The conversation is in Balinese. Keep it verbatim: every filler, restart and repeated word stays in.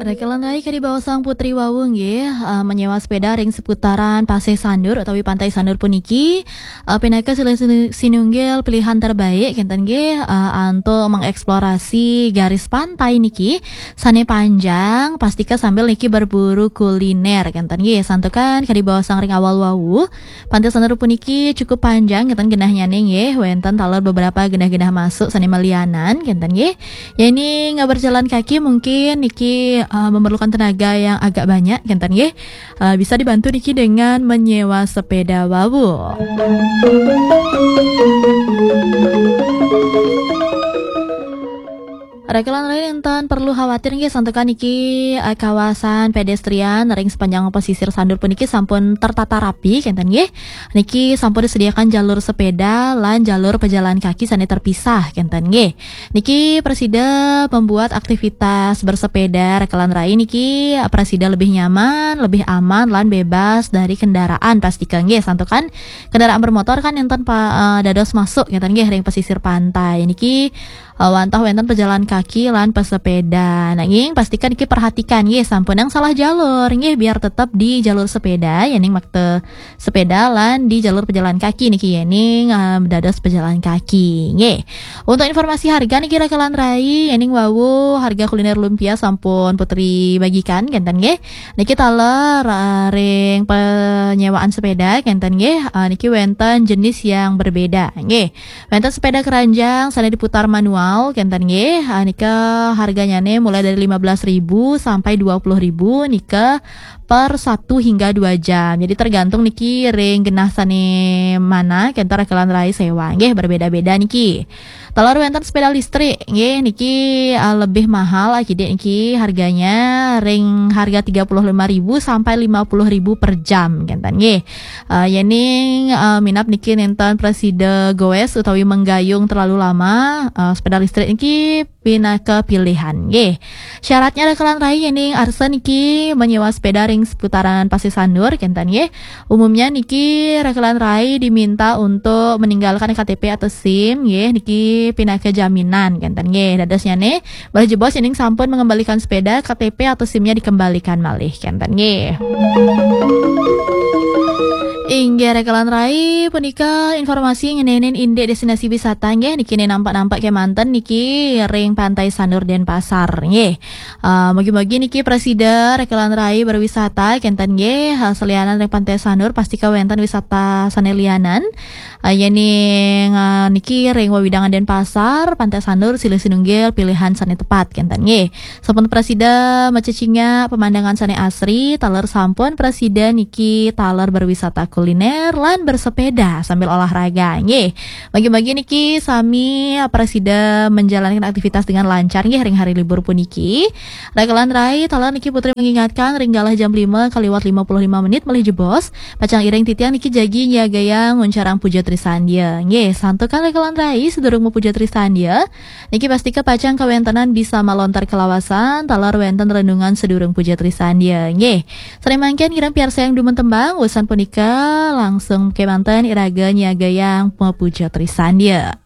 Rekelan rai kadi baosang Putri wau nggih, eh, menyewa sepeda ring seputaran Pasih Sandur utawi Pantai Sandur puniki, eh, pinaka silih sinu-, sinunggil pilihan terbaik kenten nggih, eh, antuk mengeksplorasi garis pantai niki sane panjang, pastika sambil niki berburu kuliner kenten nggih. Santukan kadi baosang ring awal wau, Pantai Sandur puniki cukup panjang kenten genahnyane nggih, wenten taler beberapa genah-genah masuk sane malianan kenten nggih. Yening berjalan kaki mungkin niki, eh, memerlukan tenaga yang agak banyak kenten nggih. Eh, bisa dibantu niki dengan menyewa sepeda wau. Rekelan rai nenten perlu khawatir nggih, santukan niki, eh, kawasan pedestrian ring sepanjang pesisir Sandur puniki sampun tertata rapi kenten nggih. Niki sampun disediakan jalur sepeda lan jalur pejalan kaki sane terpisah kenten nggih. Niki prasida membuat aktivitas bersepeda rekelan rai niki, eh, prasida lebih nyaman, lebih aman lan bebas dari kendaraan, pastika nggih, santukan kendaraan bermotor kan nenten pa-, eh, dados masuk kenten nggih ring pesisir pantai. Niki, eh, wantah wenten pejalan kaki lan pesepeda. Nanging pastika niki perhatikan nggih, sampunang salah jalur nggih, biar tetap di jalur sepeda, yening makta sepeda lan di jalur pejalan kaki niki, yening, eh, dados pejalan kaki nggih. Untuk informasi harga niki rekelan rai, yening wau harga kuliner lumpia sampun Putri bagikan kenten nggih. Niki taler, eh, ring penyewaan sepeda kenten nggih, eh, niki wenten jenis yang berbeda nggih. Wenten sepeda keranjang sane diputar manual kenten nggih. Ah, nika harganyane mulai dari lima belas ribu sampai dua puluh ribu nika per satu hingga dua jam. Jadi tergantung niki ring genah sane mana kenten rekelan rai sewa nggih, berbeda-beda niki. Taler wenten sepeda listrik nggih, niki, ah, lebih mahal akidik niki harganya, ring harga tiga puluh lima ribu sampai lima puluh ribu per jam kenten nggih. Ah, yening, ah, minab niki nenten prasida goes utawi menggayung terlalu lama, ah, sepeda listrik niki pinaka pilihan nggih. Syaratnya rekelan rai yening arsa niki menyewa sepeda ring seputaran Pasir Sandur kenten nggih. Umumnya niki rekelan rai diminta untuk meninggalkan K T P atau SIM nggih, niki pinaka jaminan kenten nggih. Dadosnyane malih jebos yening sampun mengembalikan sepeda, K T P atau SIM-nya dikembalikan malih kenten nggih. Inggih rekelan rai, punika informasi ngenenin indik destinasi wisata nggih, niki ne nampak-nampak kemanten niki ring Pantai Sanur Denpasar nggih. Ah, mugi-mugi niki prasida rekelan rai berwisata kenten nggih, ah, selianan ring Pantai Sanur pastika wenten wisata sane lianan. Ah, yening, ah, niki ring wewidangan Denpasar, Pantai Sanur silih sinunggil pilihan sane tepat kenten nggih. Sampun prasida macecingak pemandangan sane asri, taler sampun prasida niki taler berwisata kuliner lan bersepeda sambil olahraga nggih. Bagi-bagi niki sami prasida menjalankan aktivitas dengan lancar nggih ring hari libur puniki. Rekelan rai, taler niki Putri mengingatkan ring galah jam lima kaliwat lima puluh lima menit malih jebos. Pacang iring titiang niki jagi nyiagayang nguncarang puja trisandia. Nggih, santukan rekelan rai sedurung mapuja trisandia. Niki pastika pacang kawentenan bisa malontar kalawasan, taler wenten renungan sedurung puja trisandia. Nggih. Sane mangkin kirang piarsayang dumun tembang, usan punika langsung kemanten iraga nyiagayang mapuja trisandia.